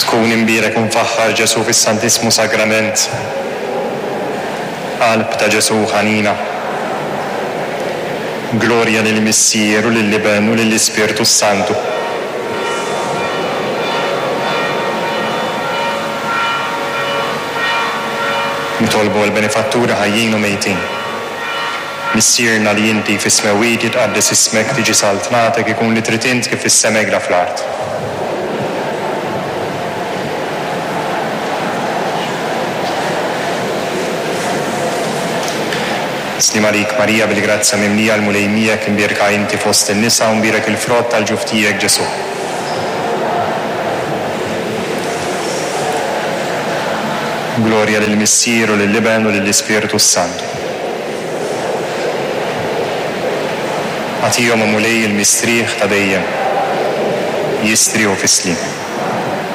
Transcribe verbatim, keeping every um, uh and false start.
Tkun imbierek u mfaħħar Ġesù fis-Santissmu Sagrament. Qalb ta' Ġesù ħanina. Glorja lill-Missier u lill-Iben u lill-Ispirtu s-Santu. Nitolbu għall-benefatturi ħajjin u mejtin. Missierna li inti fis-smewwiet, jitqaddes ismek, tiġi saltnatek, ikun li trid int kif fis-sema hekk fl-art. Sliem għalik Marija, bil-grazzja mimlija, l-Mulej miegħek, imbierka inti fost in-nisa u mbierek il-frott tal-ġuf tiegħek Ġesù. Glorja lill-Missier u lill-Iben u lill-Ispirtu s-Santu. Agħtihom, o Mulej, il-mistrieħ ta' dejjem. Jistrieħu fis-sliem.